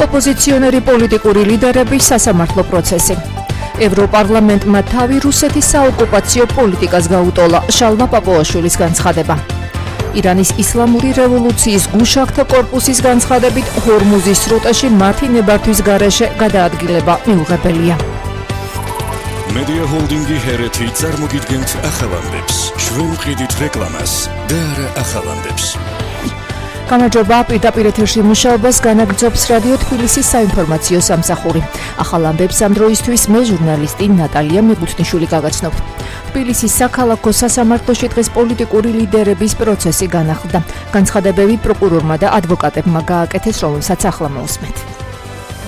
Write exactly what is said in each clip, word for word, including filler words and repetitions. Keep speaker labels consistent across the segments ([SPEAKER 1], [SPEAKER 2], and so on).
[SPEAKER 1] ოპოზიციონერი პოლიტიკური ლიდერების სასამართლო პროცესი. ევროპარლამენტმა თავი რუსეთის საოკუპაციო პოლიტიკას გაუტოლა. შალვა პაპუაშვილის განცხადება. ირანის ისლამური რევოლუციის გუშაგთა კორპუსის განცხადებით ჰორმუზის სრუტეში მათი ნებართვის გარეშე გადაადგილება მიუღებელია.
[SPEAKER 2] Media Holdingi ჰერეთი წარმოგიდგენთ ახალამდებს. ჩვენ ვყიდით რეკლამას და არა ახალამდებს.
[SPEAKER 1] გამარჯობა, პირდაპირ ეთერში მუშაობას განაგრძობს რადიო თბილისის საინფორმაციო სამსახური. ახალამდებს ამ დროისთვის მე ჟურნალისტი ნატალია მიგუთნიშვილი გაგაცნობ. თბილისის საქალაქო სასამართლოში დღეს პოლიტიკური ლიდერების პროცესი განახლდა. განცხადებები პროკურორმა და ადვოკატებმა გააკეთეს, რომელსაც ახლა მოусმეთ.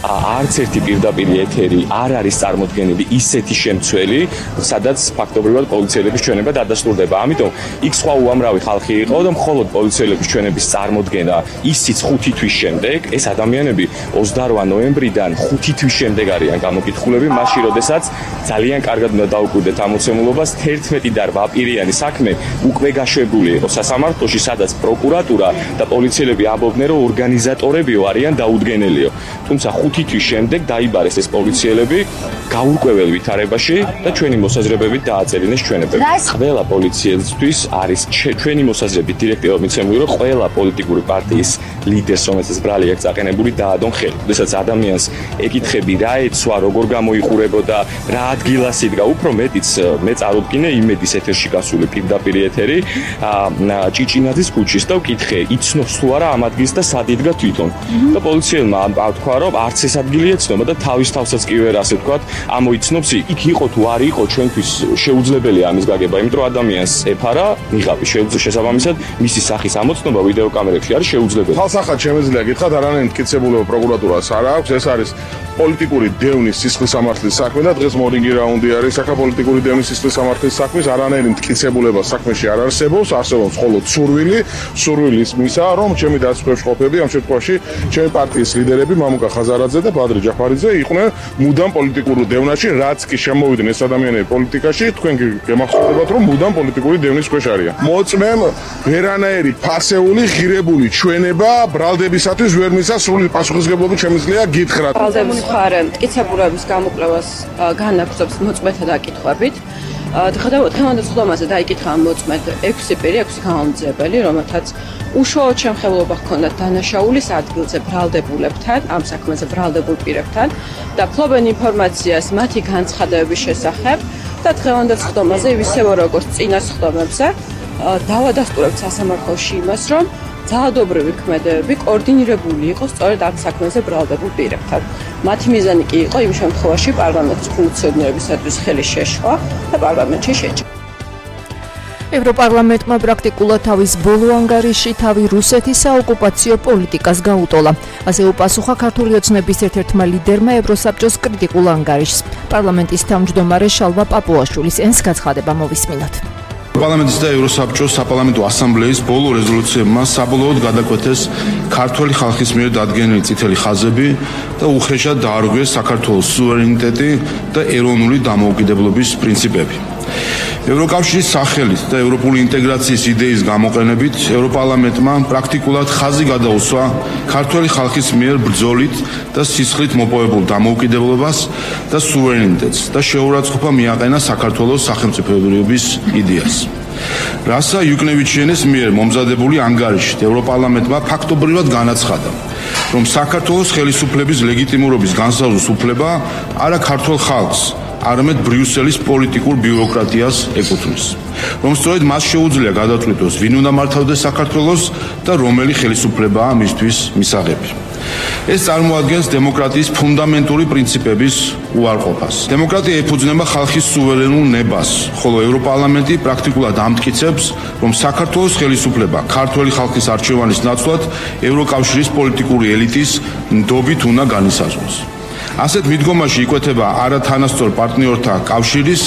[SPEAKER 3] არც ერთი პირდაპირ ეთერი არ არის წარმოდგენილი ისეთი შემცველი, სადაც ფაქტობრივად პოლიციელების ჩვენება დადასტურდება. ამიტომ იქ სხვა უამრავი ხალხი იყო და მხოლოდ პოლიციელების ჩვენების წარმოდგენა ისიც ხუთი თვის შემდეგ, ეს ადამიანები ოცდარვა ნოემბრიდან ხუთი თვის შემდეგ არიან გამოკითხულები, მაშინ როდესაც ძალიან კარგად უნდა დაუკვირდეთ ამოცემულობას, თერთმეტი და რვაპირიანი საქმე უკვე გაშვებული იყო სასამართლოში, სადაც პროკურატურა და პოლიციელები ამბობდნენ, რომ ორგანიზატორებიო არიან დაუდგენელიო. თუმცა ხუთი თვის შემდეგ დაიბარეს ეს პოლიციელები გაურკვეველ ვითარებაში და ჩვენი მოსაზრებებით დააწერიეს ჩვენებები. ყველა პოლიციელისთვის არის ჩვენი მოსაზრებით დირექტივა მიცემული, რომ ყველა პოლიტიკური პარტიის ლიდერს, რომელსაც ბრალი აქვს აყენებული, დაადონ ხელი. როდესაც ადამიანს ეკითხები რა ეცვა, როგორ გამოიყურებოდა, რა ადგილას იდგა, უფრო მეტიც მე წარუდგინე იმედის ეთერში გასული პირდაპირ ეთერი ჭიჭინაძის ქუჩის და ვკითხე, იცნობს თუ არა ამ ადგილს და სად იდგა თვითონ. და პოლიციელმა თქვა, რომ არც ეს ადგილი ეცნობა და თავის თავსაც კი ვერ ასე ვთქვათ, ამოიცნობს იქ იყო თუ არ იყო ჩვენთვის შეუძლებელია ამის გაგება, იმიტომ რომ ადამიანს ეფარა ნიღაბი შესაბამისად მისი სახის ამოცნობა ვიდეოკამერებში არის შეუძლებელი.
[SPEAKER 4] ხალხსახად შემეძლია გითხრათ, არანაირი მტკიცებულება პროკურატურას არ აქვს, ეს არის პოლიტიკური დევნის სისხლის სამართლის საქმე და დღეს მორინგი რაუნდი არის საკაპოლიტიკური დევნის სისხლის სამართლის საქმის, არანაირი მტკიცებულება საქმეში არ არსებობს, არსებობს მხოლოდ სურვილი, სურვილის მისა, რომ ჩემი დასწრებში ყოფები ამ შემთხვევაში ჩემი პარტიის ლიდერები მამუკა ხაზარაძე და ბადრი ჯაფარიძე იყვნენ მუდამ პოლიტიკურ დევნაში, რაც კი შემოვიდნენ ეს ადამიანები პოლიტიკაში, თქვენ გემახსოვდებათ, რომ მუდამ პოლიტიკური დევნის ქვეშ არიან. მოწმემ ვერანაირი ფასეული, ღირებული ჩვენება ბრალდებისათვის ვერ მისცა, სრული პასუხისმგებლობით შემიძლია გითხრათ.
[SPEAKER 5] ბრალდების მხარე მტკიცებულების გამოკვლევას განაგრძობს მოწმეთა დაკითხვებით. დღევანდელ სხდომაზე დაიკითხა მოწმედ ექვსი პირი, ექვსი გამომძიებელი, რომელთაც უშუალოდ შემხელობა ჰქონდათ დანაშაულის ადგილზე ბრალდებულებთან, ამ საქმეზე ბრალდებულ პირებთან და ფლობენ ინფორმაციას მათი განცხადებების შესახებ და დღევანდელ სხდომაზე ისევე როგორც წინა სხდომებზე დავადასტურებთ სასამართლოში იმას, რომ ძალადობრივი ქმედებები კოორდინირებული იყო სწორედ ამ საქმეზე ბრალდებულ პირებთან. მათი მიზანი კი იყო იმ შემთხვევაში პარლამენტის ფუნქციონირებისათვის ხელის შეშლა და პარლამენტში შეჭრა.
[SPEAKER 1] ევროპარლამენტმა პრაქტიკულად თავის ბოლო ანგარიში თავი რუსეთის საოკუპაციო პოლიტიკას გაუტოლა. ასე უპასუხა ქართული ოცნების ერთ-ერთმა ლიდერმა ევროსაბჭოს კრიტიკულ ანგარიშს. პარლამენტის თავმჯდომარე შალვა პაპუაშვილის ენს გაცხადება მოვისმინოთ.
[SPEAKER 6] პარლამენტის და ევროსაბჭოს საპარლამენტო ასამბლეის ბოლო რეზოლუციებმა საბოლოოდ გადაკვეთეს ქართული ხალხის მიერ დადგენილი წითელი ხაზები და უხეშად დაარღვიეს საქართველოს სუვერენიტეტი და ეროვნული დამოუკიდებლობის პრინციპები. ევროკავშირის სახელით და ევროპული ინტეგრაციის იდეის გამოყენებით ევროპარლამენტმა პრაქტიკულად ხაზი გადაუსვა ქართული ხალხის მიერ ბრძოლით და სისხლით მოპოვებულ დამოუკიდებლობას და სუვერენიტეტს და შეურაცხყოფა მიაყენა საქართველოს სახელმწიფოებრიობის იდეას. რასა იუკნევიჩიანის მიერ მომზადებული ანგარიშით ევროპარლამენტმა ფაქტობრივად განაცხადა, რომ საქართველოს ხელისუფლების ლეგიტიმურობის განსაზღვრის უფლება არა ქართულ ხალხს, არამედ ბრიუსელის პოლიტიკურ ბიუროკრატიას ეკუთვნის, რომ სწორედ მას შეუძლია გადაწყვიტოს, ვინ უნდა მართავდეს საქართველოს და რომელი ხელისუფლებაა მისთვის მისაღები. ეს წარმოადგენს დემოკრატიის ფუნდამენტური პრინციპების უარყოფას. დემოკრატია ეფუძნება ხალხის სუვერენულ ნებას, ხოლო ევროპარლამენტი პრაქტიკულად ამტკიცებს, რომ საქართველოს ხელისუფლება ქართველი ხალხის არჩევანის ნაცვლად ევროკავშირის პოლიტიკური ელიტის ნდობით უნდა განისაზღვროს. ასეთ მიდგომაში იკვეთება არა თანასწორ პარტნიორთა კავშირის,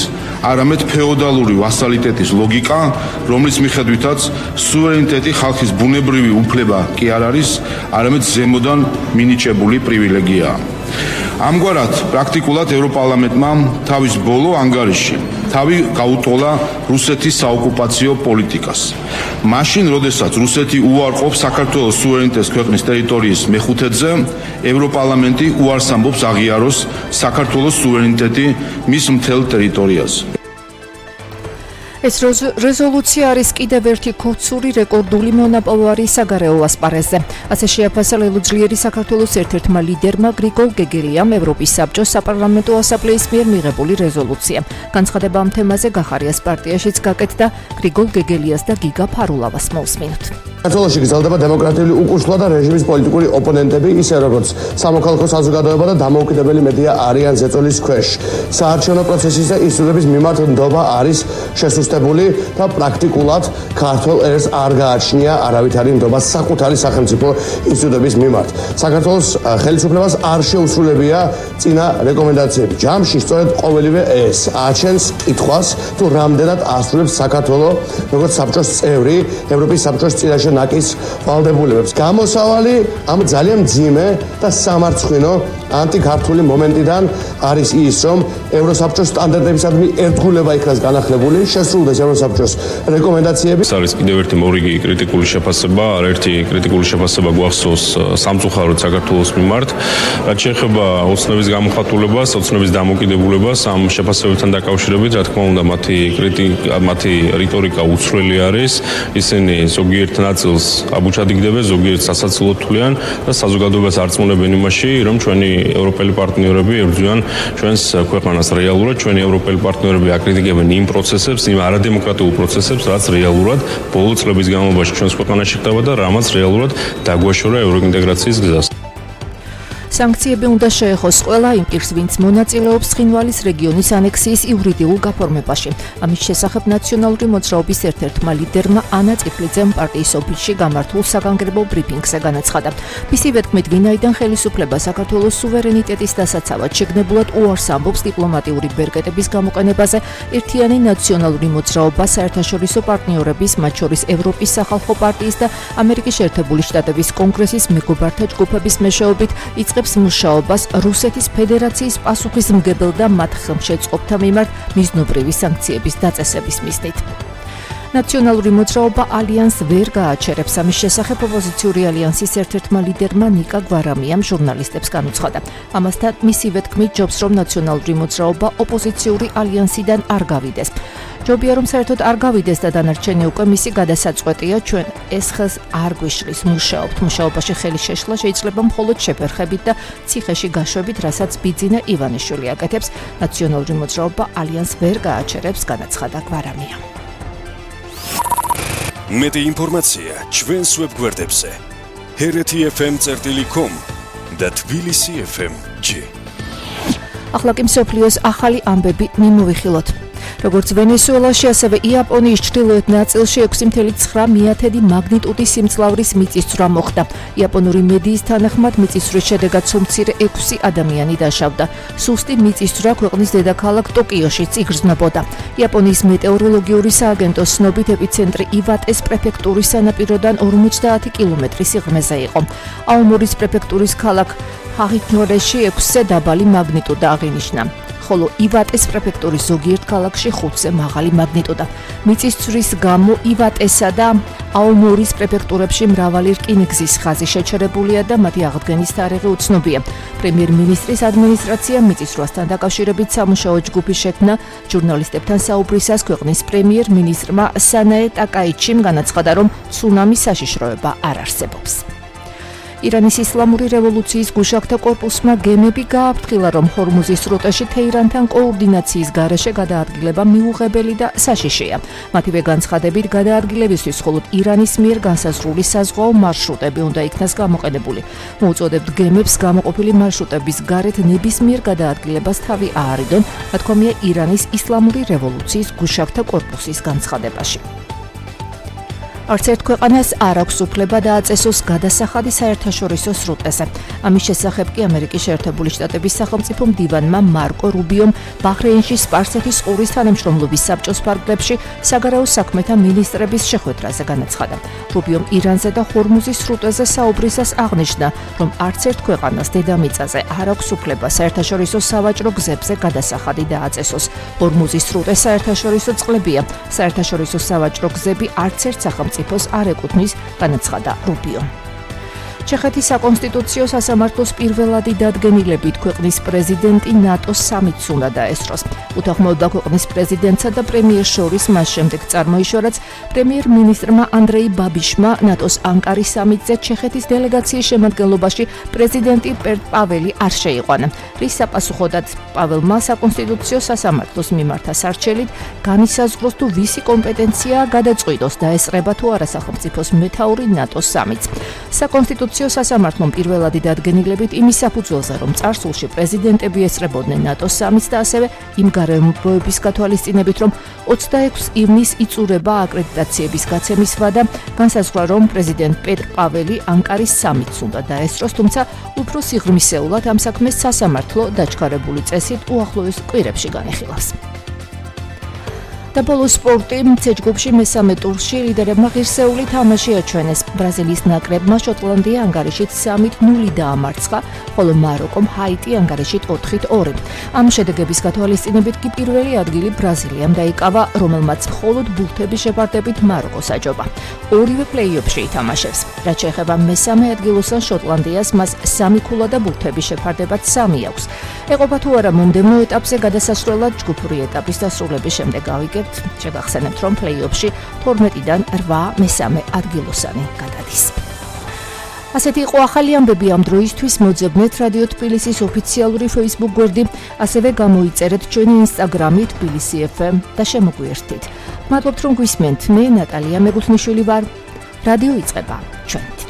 [SPEAKER 6] არამედ ფეოდალური ვასალიტეტის ლოგიკა, რომლის მიხედვითაც სუვერენიტეტი ხალხის ბუნებრივი უფლება კი არ არის, არამედ ზემოდან მინიჭებული პრივილეგიაა. ამგვარად, პრაქტიკულად ევროპარლამენტმა თავის ბოლო ანგარიში თავი გაუტოლა რუსეთის საოკუპაციო პოლიტიკას. მაშინ, როდესაც რუსეთი უარყოფს საქართველოს სუვერენიტეტს ქვეყნის ტერიტორიის მეხუთედზე, ევროპარლამენტი უარს ამბობს აღიაროს საქართველოს სუვერენიტეტი მის მთელ ტერიტორიაზე.
[SPEAKER 1] ეს რეზოლუცია არის კიდევ ერთი ქორწული რეკორდული მონაპოვარი საგარეო ასპარეზზე. ასე შეაფასა ლელუძლიერი საქართველოს ერთ-ერთმა ლიდერმა გრიგოლ გეგელიამ ევროპის საბჭოს საპარლამენტო ასამბლეის მიერ მიღებული რეზოლუცია. განცხადება ამ თემაზე გახარიას პარტიაშიც გაკეთდა. გრიგოლ გეგელიას და გიგა ფარულავას მოусმინოთ.
[SPEAKER 7] საქართველოში გრძელდება დემოკრატიული უკუშლა და რეჟიმის პოლიტიკური ოპონენტები, ისე როგორც სამოქალაქო საზოგადოება და დამოუკიდებელი მედია არიან ზეწოლის ქვეშ. საარჩევნო პროცესის და ინსტიტუტების მიმართ ნდობა არის შესუსტებული და პრაქტიკულად ქართულ ერს არ გააჩნია არავითარი ნდობა საკუთარი სახელმწიფო ინსტიტუტების მიმართ. საქართველოს ხელისუფლებას არ შეუსრულებია წინა რეკომენდაციები. ჯამში სწორედ ყოველივე ეს აჩენს კითხვას, თუ რამდენად ასრულებს საქართველო როგორც საბჭოს წევრი ევროპის საბჭოს წინაშე ნაკის ვალდებულებებს. გამოსავალი ამ ძალიან მძიმე და სამარცხვინო ანტიქართული მომენტიდან არის ის, რომ ევროსაბჭოს სტანდარტებისადმი ერთგულება იქნას განახლებული, შესრულდეს ევროსაბჭოს რეკომენდაციები.
[SPEAKER 8] ეს არის კიდევ ერთი მორიგი კრიტიკული შეფასება, არაერთი კრიტიკული შეფასება გვახსოვს სამწუხაროდ საქართველოს მიმართ. რაც შეეხება ოცნების გამოხატულებას, ოცნების დამოკიდებულებას, ამ შეფასებებთან დაკავშირებით, რა თქმა უნდა, მათი კრიტიკა, მათი რიტორიკა უცვლელი არის. ისინი ზოგიერთ ნაწილს აბუჩადიგდებენ, ზოგიერთ სასაცილოდ თვლიან და საზოგადოებას არწმუნებენ იმაში, რომ ჩვენი ევროპელი პარტნიორები ებრძვიან ჩვენს ქვეყანას რეალურად, ჩვენი ევროპელი პარტნიორები აკრიტიკებენ იმ პროცესებს, იმ არადემოკრატიულ პროცესებს, რაც რეალურად ბოლო წლების განმავლობაში ჩვენს ქვეყანაში ხდება და რამაც რეალურად დაგვაშორა ევროინტეგრაციის გზას.
[SPEAKER 1] სანქციები უნდა შეეხოს ყველა იმ პირს, ვინც მონაწილეობს ცხინვალის რეგიონის ანექსიის იურიდიულ გაფორმებაში. ამის შესახებ ნაციონალური მოძრაობის ერთ-ერთმა ლიდერმა ანა წიფლიძემ პარტიის ოფისში გამართულ საგანგებო ბრიფინგზე განაცხადა. მისივე თქმით, ვინაიდან ხელისუფლება საქართველოს სუვერენიტეტის დასაცავად შეგნებულად უარს ამბობს დიპლომატიური ბერკეტების გამოყენებაზე, ერთიანი ნაციონალური მოძრაობა საერთაშორისო პარტნიორების, მათ შორის ევროპის სახალხო პარტიის და ამერიკის შეერთებული შტატების კონგრესის მეგობართა ჯგუფების მეშვეობით იწყებს მუშაობას რუსეთის ფედერაციის პასუხისმგებელ და მათ ხელმშეწყობთა მიმართ მიზნობრივი სანქციების დაწესების მიზნით. ნაციონალური მოძრაობა ალიანს ვერ გააჩერებს. ამის შესახებ ოპოზიციური ალიანსის ერთ-ერთმა ლიდერმა ნიკა გვარამიამ ჟურნალისტებს განუცხადა. ამასთან მისივე თქმით, ჯობს რომ ნაციონალური მოძრაობა ოპოზიციური ალიანსიდან არ გავიდეს. ჯობია რომ საერთოდ არ გავიდეს და დანარჩენი უკვე მისი გადასაწყვეტია, ჩვენ ეს ხელს არ გვიშლის, მუშაობთ. მუშაობაში ხელი შეშლა შეიძლება მხოლოდ შეფერხებით და ციხეში გაშვებით, რასაც ბიძინა ივანიშვილი აკეთებს. ნაციონალური მოძრაობა ალიანს ვერ გააჩერებს, განაცხადა გვარამია.
[SPEAKER 2] მეტი ინფორმაცია ჩვენს ვებგვერდებზე ჰერეთი ეფ ემ წერტილი კომ და თბილისი ეფ ემ ჯი.
[SPEAKER 1] ახლა კი მსოფლიოს ახალი ამბები მიმოვიხილოთ. როგორც ვენესუელაში, ასევე იაპონიის ჩრდილოეთ ნაწილში ექვსი ცხრა მეთრი მაგნიტუდის სიმძლავრის მიწისძვრა მოხდა. იაპონური მედიის თანახმად მიწისძვრის შედეგად სულ მცირე ექვსი ადამიანი დაშავდა. სუსტი მიწისძვრა ქვეყნის დედაქალაქ ტოკიოშიც იგრძნობოდა. იაპონიის მეტეოროლოგიური სააგენტოს ცნობით ეპიცენტრი ივატეს პრეფექტურის სანაპიროდან ორმოცდაათი კილომეტრის სიღრმეზე იყო. აომორის პრეფექტურის ქალაქ ჰაღინორეში ექვსზე დაბალი მაგნიტუდა აღინიშნა. ხოლო ივატეს პრეფექტურის ზოგიერთ ქალაქში ხუთზე მაღალი მაგნიტუდა. მიწისძვრის გამო ივატესა და აომორის პრეფექტურებში მრავალი რკინიგზის ხაზი შეჩერებულია და მათი აღდგენის თარიღი უცნობია. პრემიერ-მინისტრის ადმინისტრაცია მიწისძვრასთან დაკავშირებით სამუშაო ჯგუფი შექმნა. ჟურნალისტებთან საუბრისას ქვეყნის პრემიერ-მინისტრმა სანაე ტაკაიჩიმ განაცხადა, რომ ცუნამის საშიშროება არ არსებობს. ირანის ისლამური რევოლუციის გუშაქთა კორპუსმა გემები გააფრთხილა, რომ ჰორმუზის სრუტეში თეირანთან კოორდინაციის გარეშე გადაადგილება მიუღებელი და საშიშია. მათივე განცხადებით, გადაადგილებისთვის მხოლოდ ირანის მიერ განსაზღვრული საზღვაო მარშრუტები უნდა იქნას გამოყენებული. მოუწოდებთ გემებს გამოყოფილი მარშრუტების გარეთ ნებისმიერ გადაადგილებას თავი აარიდონ, ნათქვამია ირანის ისლამური რევოლუციის გუშაქთა კორპუსის განცხადებაში. არც ერთ ქვეყანას არ აქვს უფლება დააწესოს გადასახადი საერთაშორისო სრუტეზე. ამის შესახებ კი ამერიკის შეერთებული შტატების სახელმწიფო მდივანმა მარკო რუბიომ ბაჰრეინში სპარსეთის ყურის თანამშრომლობის საბჭოს ფარგლებში საგარეო საქმეთა მინისტრების შეხვედრაზე განაცხადა. რუბიომ ირანზე და ჰორმუზის სრუტეზე საუბრისას აღნიშნა, რომ არც ერთ ქვეყანას დედამიწაზე არ აქვს უფლება საერთაშორისო სავაჭრო გზებზე გადასახადი დააწესოს. ჰორმუზის სრუტე საერთაშორისო წყლებია. საერთაშორისო სავაჭრო გზები არც ერთ სახელმწიფოს არ ეკუთვნის, განაცხადა რუბიო. ჩეხეთის საკონსტიტუციო სასამართლოს პირველადი დადგენილებით ქვეყნის პრეზიდენტი ნატოს სამიტს უნდა დაესწროს. უთანხმოება ქვეყნის პრეზიდენტსა და პრემიერს შორის მას შემდეგ წარმოიშვა, რაც პრემიერ-მინისტრმა ანდრეი ბაბიშმა ნატოს ანკარის სამიტზე ჩეხეთის დელეგაციის შემადგენლობაში პრეზიდენტი პეტრ პაველი არ შეიყვანა. რის საპასუხოდაც პაველმა საკონსტიტუციო სასამართლოს მიმართა სარჩელით განისაზღვროს თუ ვისი კომპეტენციაა გადაწყვიტოს დაესწრება თუ არა სახელმწიფოს მეთაური ნატოს სამიტს. საკონსტიტუციო სასამართლომ პირველადი დადგენილებით იმის საფუძველზე, რომ წარსულში პრეზიდენტები ესწრებოდნენ ნატოს სამიტს და ასევე იმ გარემოებების გათვალისწინებით, რომ ოცდაექვსი ივნისს იწურება აკრედიტაციების გაცემის ვადა, განსაზღვრა, რომ პრეზიდენტ პეტრ პაველი ანკარის სამიტს უნდა დაესწროს, თუმცა უფრო სიღრმისეულად ამ საქმეს სასამართლო დაჩქარებული წესით უახლოეს კვირებში განიხილავს. და ბოლოს სპორტი ცე ჯგუფში მესამე ტურში ლიდერებმა ღირსეული თამაში აჩვენეს. ბრაზილიის ნაკრებმა შოტლანდია ანგარიშით სამით ნული დაამარცხა, ხოლო მაროკომ ჰაიტი ანგარიშით ოთხით ორი. ამ შედეგების გათვალისწინებით კი პირველი ადგილი ბრაზილიამ დაიკავა, რომელმაც მხოლოდ ბურთების შეფარდებით მაროკოს აჯობა. ორივე პლეი-ოფში ითამაშებს. რაც შეეხება მესამე ადგილოსან შოტლანდიას, მას სამი ქულა და ბურთების შეფარდებად სამი აქვს. ეყოფა თუ არა მომდევნო ეტაპზე გადასასვლელად ჯგუფური ეტაპის დასრულების შემდეგ გავიგებთ. შეგახსენებთ, რომ პლეი-ოფში თორმეტიდან რვა მესამე ადგილოსანი გადადის. ასეთი იყო ახალი ამბები ამ დროისთვის. მოძებნეთ რადიო თბილისის ოფიციალური Facebook გვერდი, ასევე გამოიწერეთ ჩვენი Instagram-ი თბილისი ეფ ემ და შემოგვიერთდით. მადლობთ, რომ გვისმენთ. მე ნატალია მეგუთნიშვილი ვარ. რადიო იწყება. ჩვენ